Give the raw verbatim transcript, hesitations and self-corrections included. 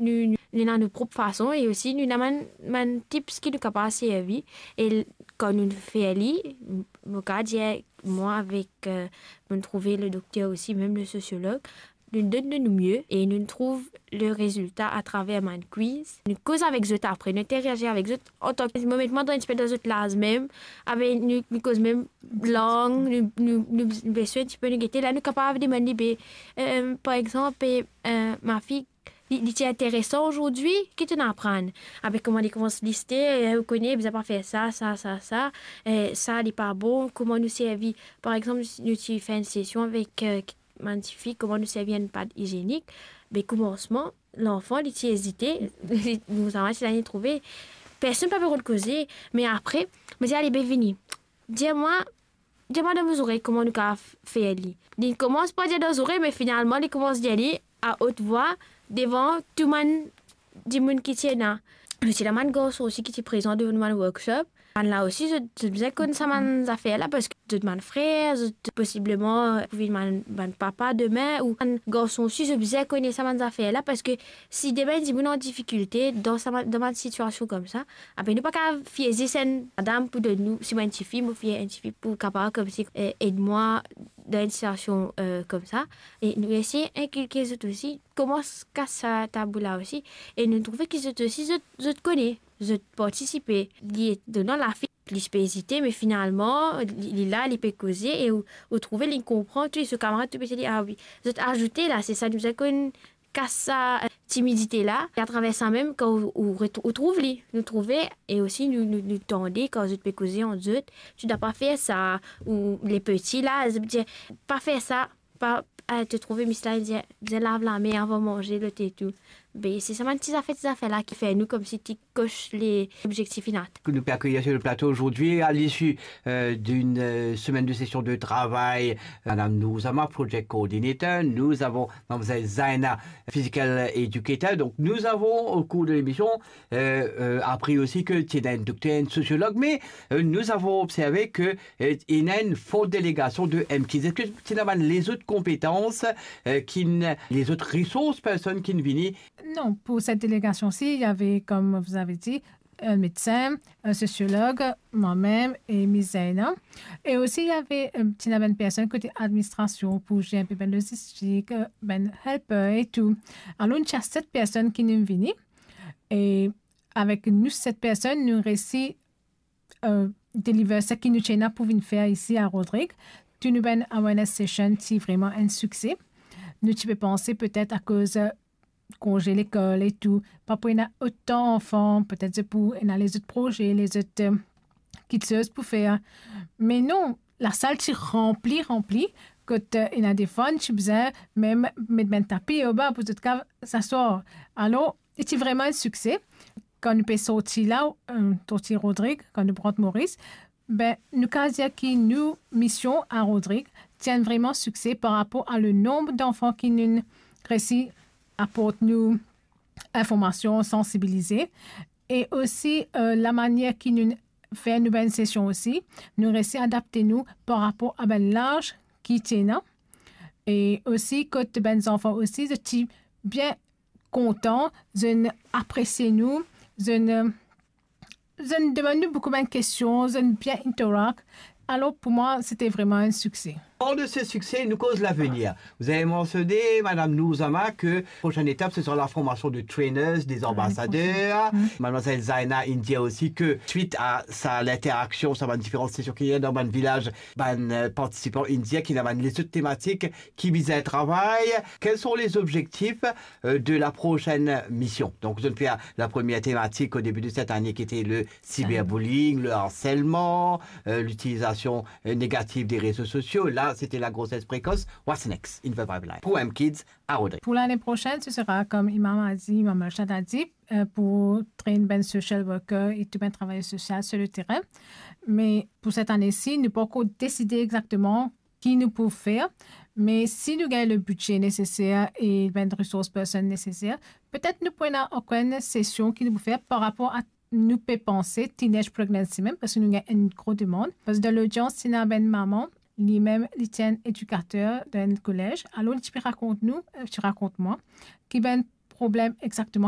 Nou, nou, nou ena nou prop fason e osi nou ena bann, bann tips ki nou kapav servi. E l-, kan nou fer li, m-, mo kapav dir, mwa avek, eh, mo trouve le dokter osi, mem le sosiolog, nou donn de nou mie e nou trouv le rezilta atraver bann quiz. Nou koz avek zot apre, nou intereazir avek zot antan ki, mo met mwa dan enn tipe dan zot laz mem, abe nou, nou koz mem lang, nou, nou, nou, nou beswin enn tipe nou gete, la nou kapav demann li, be, eh, par exanp, eh, eh, ma fi, li, li ti interesan azordi, ki to'nn aprann? Abe kouma li koumans liste, eh, ou kone, bizin pa fer sa, sa, sa, sa, eh, sa li pa bon, kouma nou servi, par exanp, nou ti fer enn sesion avek, eh, bann tifi, kouma nou servi enn pad izienik, be koumansman, lanfan, li ti ezite, li, nou zame ti trouve, personn pa pe rod koze, me apre, mo dir, ale, be vini. Dir mwa, dir mwa dan mo zorey kouma nou kapav f-, fer li. Li koumans pa dir dan zorey, me finalman, li koumans dir li a ot vwa devan tou bann dimoun ki ti ena. Nou ti ena bann garson osi ki ti prezan devan bann workshop. Bannla osi, zot, zot bizin konn sa bann zafer la, parski zot bann frer, zot posibleman pou vinn bann, bann papa demin, ou bann garson osi, zot bizin kone sa bann zafer la, parski si demin dimoun an difikilte dan sa, dan bann sitiasion koumsa, apre nou pa kapav fie zis enn madam pou donn nou, si mwa enn tifi, mo fie enn tifi pou kapav koumsi, eh, ed mwa dan enn sitiasion, eh, koumsa. E nou eseye inkilke zot osi, koumans kas sa tabou la osi, e nou trouve ki zot osi, zot, zot kone, zot partisipe. Li etonan, lafi plis pe ezite, me finalman, li, li la, li pe koze, e ou, ou trouve li konpran tou, e so kamarad tou pe dir, a wi, zot azoute la, se sa, nou bizin konn kas sa, eh, timidite la, e atraver sa mem, kan ou, ou retr-, ou trouv li, nou trouve, e osi nou, nou, nou tande kan zot pe koze ant zot, tu dois pas faire ça, ou le peti la, zot dir, pa fer sa, pa, eh, to trouve mis la, li dir, bizin lav lame avan manze lot e tou. Be, se sa bann ti zafer, ti zafer la ki fer nou koumsi ti kos le lobzektif inn atenn. Que nous accueillons sur le plateau aujourd'hui, à l'issue, euh, d'une, euh, semaine de session de travail, euh, Madame Nouzama, Project Coordinator. Nous avons Mademoiselle Zaina, Physical Educator. Donc, nous avons, au cours de l'émission, euh, euh, appris aussi que tu es une docteur, une sociologue, mais, euh, nous avons observé que, euh, il y a une forte délégation de M Kids. Est-ce que tu as les autres compétences, euh, qui n-, les autres ressources, personnes qui n vini Non, pour cette délégation-ci, il y avait, comme vous avez dit, un médecin, un sociologue, moi-même et Miss Zaina. Et aussi, il y avait, euh, ti ena bann personn kote administrasion pou zere inpe bann logistik, euh, bann helper e tou. Alor, nou ti ena set personn ki nou vini. E avek nou set personn, nou resi euh, deliver seki nou ti ena pou vinn fer isi a Rodrig. Tou nou bann awareness session ti vreman enn sikse. Nou ti pe panse petet akoz, euh, konze lekol e tou, pa pou ena otan zanfan, petet zot pou ena lezot proze, lezot, euh, kitsoz pou fer. Me non, lasal ti ranpli, ranpli, kot, euh, ena de fwa nou ti bizin mem met bann tapi anba pou zot kav aswar. Alor, li ti vreman enn sikse. Kan nou pe sorti la, euh, sorti Rodrig, kan nou rant Moris, be, nou kav dir ki nou mision a Rodrig ti enn vreman sikse par rapor a le nonb zanfan ki nou resi aport nou informasion, sansibilize, e osi, euh, lamanier ki nou fer nou bann sesion osi, nou resi adapte nou par rapor a bann laz ki ti ena, e osi kot bann zanfan osi, zot ti bien kontan, zot inn apresie nou, zot inn, zot inn demann nou boukou bann kestion, zot inn bien interact. Alor, pou mwa, sete vreman enn sikse. Hors de ce succès, nous cause l'avenir. Vous avez mentionné, Madame Nouzama, que prochaine étape, ce sera la formation de trainers, des ambassadeurs. Mademoiselle Zaina inn dir aussi que suite à sa, l'interaction, sa bann diferan sesion ki ena dan bann vilaz, bann, euh, partisipan inn dir ki ena bann lezot tematik ki bizin travay. Quels sont les objectifs, euh, de la prochaine mission ? Donc, zot inn fer la première thématique au début de cette année, qui était le cyberbullying, le harcèlement, euh, l'utilisation, euh, négative des réseaux sociaux. Là, c'était la grossesse précoce. What's next in the pipeline pour M Kids a Rodrig ? Pour l'année prochaine, ce sera, comme Imam a dit, Imam Arshad a dit, euh, pou train bann social worker e tou bann travayer sosial sur le terrain. Me pou set ane-si, nou pa ankor deside exakteman ki nou pou fer, me si nou gagn le bidze neseser e bann resours person neseser, petet nou pou ena ankor enn sesion ki nou pou fer par rapor a, nou pe panse, teenage pregnancy mem, parski nou gagn enn gro demann. Parski dan lodians, ti ena bann mama, li mem, li ti enn edikater dan enn kolez, alor li ti pe rakont nou, euh, ti rakont mwa, ki bann problem exakteman